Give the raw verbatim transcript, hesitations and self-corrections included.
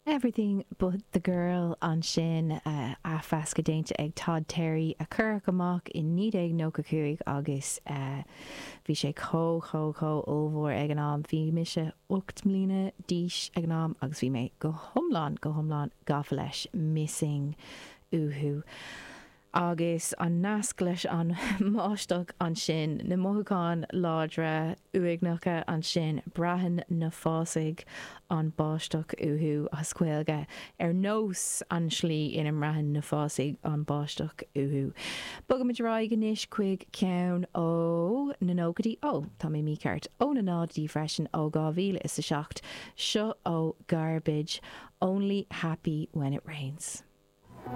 Everything but the Girl ansin athmheascadh déanta ag Todd Terry a cuireadh amach in naoi déag nócha cúig agus bhí sé chomh chomh chomh ollmhór ag an am. Bhí mise ocht mbliana d'aois ag an am agus bhí mé go hiomlán go hiomlán gafa leis Missing uathu. Agus an nasc leis an mbáisteach ansin, na mothúcháin láidre uaigneacha ansin, braitheann na fásaigh an báisteach uathu as Gaeilge ar nós an slí ina mbraitheann na fásaigh an báisteach uathu. Bogaimid ar aghaidh anois chuig ceann ó na nóchaidí, ó, tá mé mícheart, ó na náidí freisin ó dhá mhíle is a seacht, seo ó Garbage, Only Happy When It Rains.